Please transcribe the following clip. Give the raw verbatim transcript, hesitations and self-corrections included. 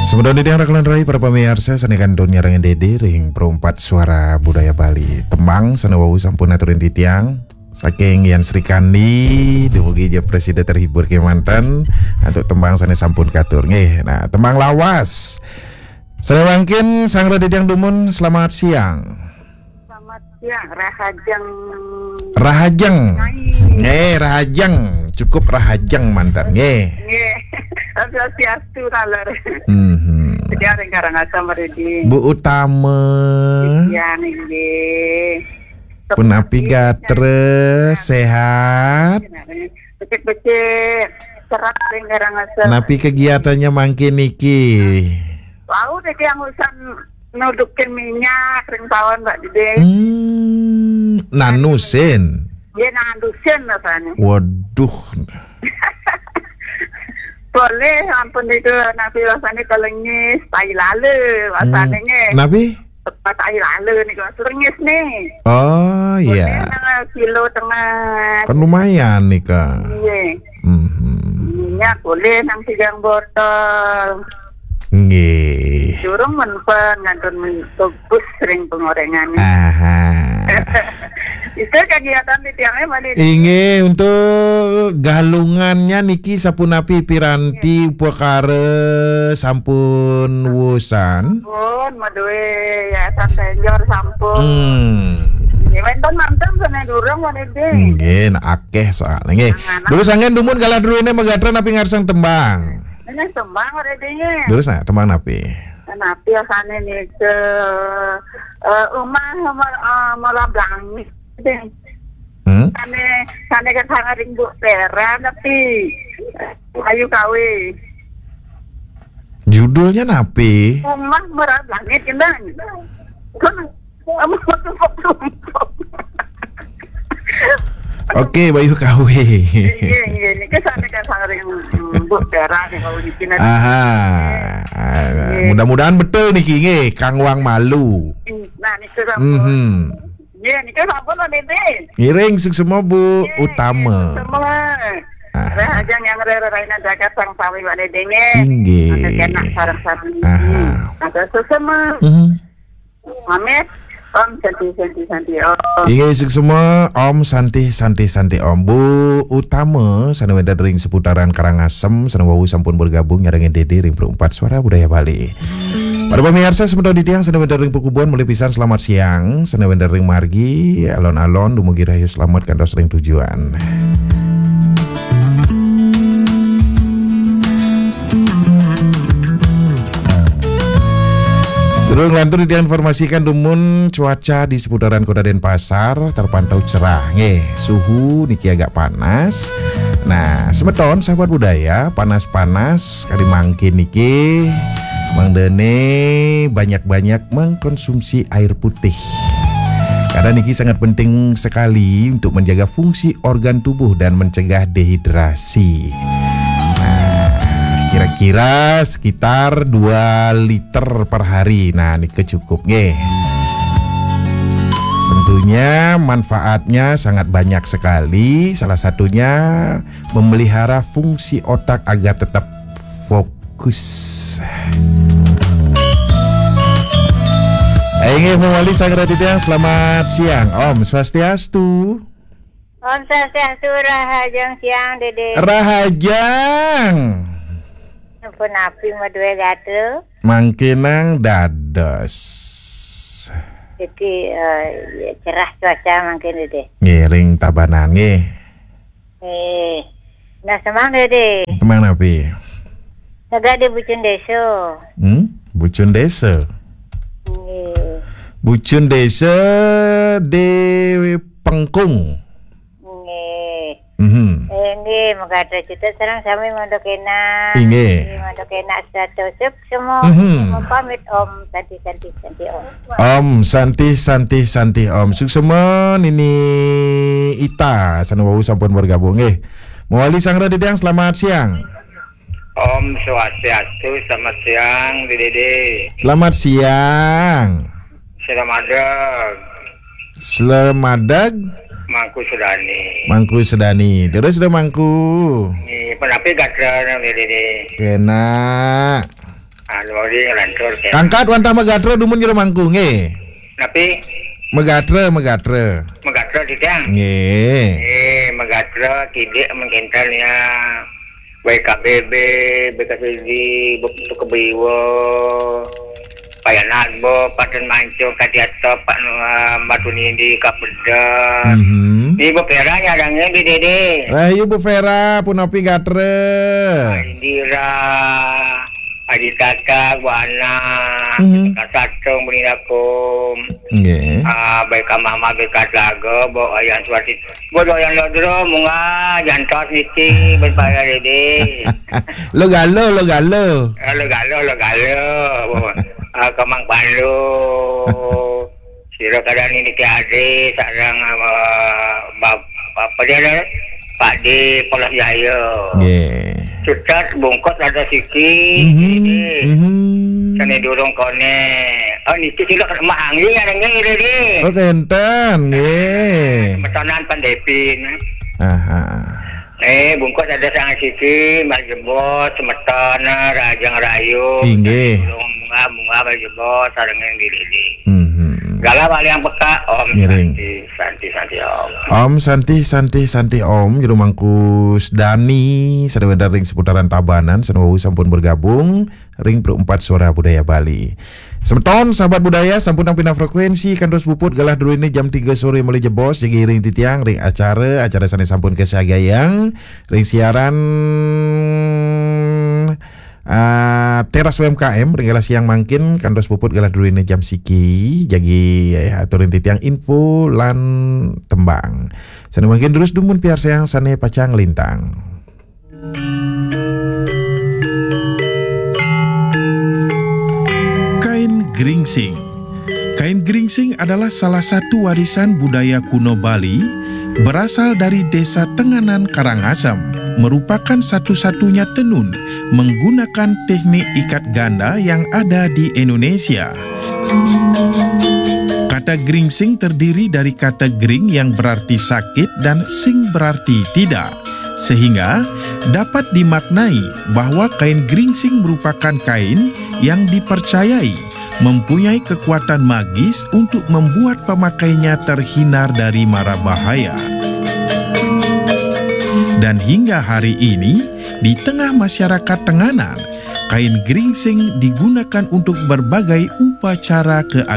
Semeton titiang Rakulan Rai, para pamiarsa sané kantun nyarengin Dédé ring Perumpat Suara Budaya Bali. Tembang sané wau sampun aturin titiang saking Yan Srikandi, dumugi ja prasida terhibur kémanten antuk tembang sané sampun katur. Nggih, nah, tembang lawas. Sané mangkin Sang Raditya dumun, selamat siang. Selamat siang, Rahajeng. Rahajeng. Nggih, Rahajeng. Cukup Rahajeng manten, nggih. Nggih. Swastiastu, taler. Mhm. Jadi, ring Karangasem, Ridi. Bu Utama. Iya, nggih. Punapi gatra, sehat? Becik-becik. Serat ring Karangasem. Napi kegiatannya mangkin niki? Wau, niki yang urusan nudukin minyak ring pawon, Mbak Dede. Hmm, nanusin. Nggih, nanusin rasane. Waduh. Boleh, ampun, itu napi rasane, kelengis, tai lale, rasane. Hmm, nggih. Napi? Tai lale niku, kelengis nih. Oh, boleh, iya. Nang kilo tengah. Kan lumayan nika. Nggih. Mhm. Minyak boleh nang tigang botol. Nggih. Durung menpan ngantun men-, bagus ring pengorengane. Aha. Itu kegiatan di tiangnya mana? Inggih, untuk galungannya niki sapunapi piranti upakara sampun wusan? Pun, madue yayasan Tenjor sampun. Hmm. Nggih, wenten manten sana durung, mana deh? Nggih, nah, akeh soalnya. Nggih. Nah, nah. Durus anggen dumun galah druene magatra napi ngarsang tembang? Ini tembang ora dene. Durus nah, tembang napi? Napi asane nika, eh, umah, umah, eh, Mola Blangi. Hmm? Sane, sane kan sangat ring Bu Pera, tapi ayu kawe. Judulnya napi? Umah Mola Blangi, Kendang. Kan, umah tumpuk-tumpuk. Oke, Bayu Kawe. Iya, iya, niki sane kan sangat ring, mm, Bu Pera nih kalau di sini. Aha. Ah, nggih. Mudah-mudahan betul niki, nggih, Kang Wang Malu. Nah, niki sampun. Mhm. Nggih, niki sampun, Pak Dede. Ngiring suksema, Bu. Nggih, Utama. Suksema. Aha. Rahajeng yang rera raina jagat sang sami, Pak Dede, nggih. Inggih. Mangke kenak sareng sami. Aha. Mangke suksema. Mhm. Pamit. Om Santi, Santi, Santi, Om. Inggih, suksema, Om Santi, Santi, Santi, Om. Bu Utama, sane wenten ring seputaran Karangasem, sane wau sampun bergabung nyarengin Dede ring Perumpat Suara Budaya Bali. Para pamiarsa, semeton titiang sane wenten ring Pakubuan, malih pisan selamat siang, sane wenten ring margi, alon-alon, dumugi rahayu selamet kantos ring tujuan. Sedurung lantur, diinformasikan dumun cuaca di seputaran Kota Denpasar terpantau cerah. Nggih, suhu niki agak panas. Nah, semeton sahabat budaya, panas-panas kali mangkin niki, mangdane banyak-banyak mengkonsumsi air putih. Karena niki sangat penting sekali untuk menjaga fungsi organ tubuh dan mencegah dehidrasi. Nah, kira-kira sekitar dua liter per hari. Nah, niki cukup nggih. Tentunya manfaatnya sangat banyak sekali. Salah satunya memelihara fungsi otak agar tetap fokus. Inggih, mawali Sang Raditya, selamat siang. Om Swastiastu. Om Swastiastu, rahajeng siang, Dede. Rahajeng. Sampun napi madue gatra? Mangkinang dados. Jadi, eh, ya, cerah cuaca mangkin, Dede. Ngiring Tabanan, nggih. Eh, nah, semang, Dede. Semang napi? Negak di Bucun Desa. Hmm? Bucun Desa? Nggih. Bucun Desa di Pengkung. Nggih. Mhm. Eh, nggih, magatra cita sareng sami mandok enak. Inggih. Nggih, mandok enak sato suksema. Mhm. Pamit, Om Santi, Santi, Santi, Om. Om Santi, Santi, Santi, Om. Suksema Nini Ita, sane wau sampun bergabung nggih. Mawali Sang Raditya, selamat siang. Om Swastiastu, selamat siang, Dede. Selamat siang. Selamat malam. Slemadeg. Mangku Sudani. Mangku Sudani. Terus dah Mangku. Ni, penapi gatra nang ni, ni, ni. Kena. Anu, mari ngelantur, ya. Kangkat wantah magatra dumun jero mangku, nggih. Napi? Magatra, magatra. Magatra, Titiang? Nggih. Eh, magatra, kidik, mengkinten, ya. Baik K B B, B K C D, Buktu Kebiwa, Payanat, Bo, Paten Mancung, Kadiata, Pak Nua, Batu Nindi, Kapeda. Mhm. Ni Bu Vera nyarangnya di Dede. Rahayu Bu Vera, punapi gatra? Indira. Adi Tata, Buana, Mhm. Kasatung, Buninakum. Nggih. Ah, baik Kamah Mah, baik Katlaga, bawa Ayan Suwati. Bawa Doyan Lodro, Munga, Jantos, Niti, baik Pak Dede. Lo galo, lo galo. Ah, lo galo, lo galo. Bawa, ah, Kamang Pandu. Sira kadang ini ke ade sarang, eh, bab-, apa dia ada? Pak di Polos Jaya. Nggih. Cucat bungkus ada siki, Mhm, ini. Mhm. Seni durung kone. Oh, niki sila mak angin ada nggih ini, di. Oh, kenten, nggih. Metanan pandepin. Aha. Eh, bungkus ada sangat siki, Mbak Jebos, semeton, Rajang Rayu. Inggih. Durung bunga, bunga, Mbak Jebos, sareng yang diri. Mhm. Galah wali yang peka, Om. Ngiring. Santi, Santi, Santi, Om. Om Santi, Santi, Santi, Om. Jero Mangkus Dani, sadaya ring seputaran Tabanan, sané wau sampun bergabung ring Pro empat Suara Budaya Bali. Semeton sahabat budaya, sampun nampi frekuensi, kantos puput galah druene jam tiga sore malih jebos, jagi ring titiang ring acara, acara sané sampun kasagayang ring siaran ah, Teras U M K M, ring galah siang mangkin, kantos puput galah druene jam siki, jagi, eh, aturin titiang info lan tembang. Sané mangkin terus dumun piarsayang sané pacang lintang. Kain geringsing. Kain geringsing adalah salah satu warisan budaya kuno Bali, berasal dari Desa Tenganan Karangasem, merupakan satu-satunya tenun menggunakan teknik ikat ganda yang ada di Indonesia. Kata geringsing terdiri dari kata gering yang berarti sakit dan sing berarti tidak, sehingga dapat dimaknai bahwa kain geringsing merupakan kain yang dipercayai mempunyai kekuatan magis untuk membuat pemakainya terhindar dari mara bahaya. Dan hingga hari ini, di tengah masyarakat Tenganan, kain geringsing digunakan untuk berbagai upacara keagamaan.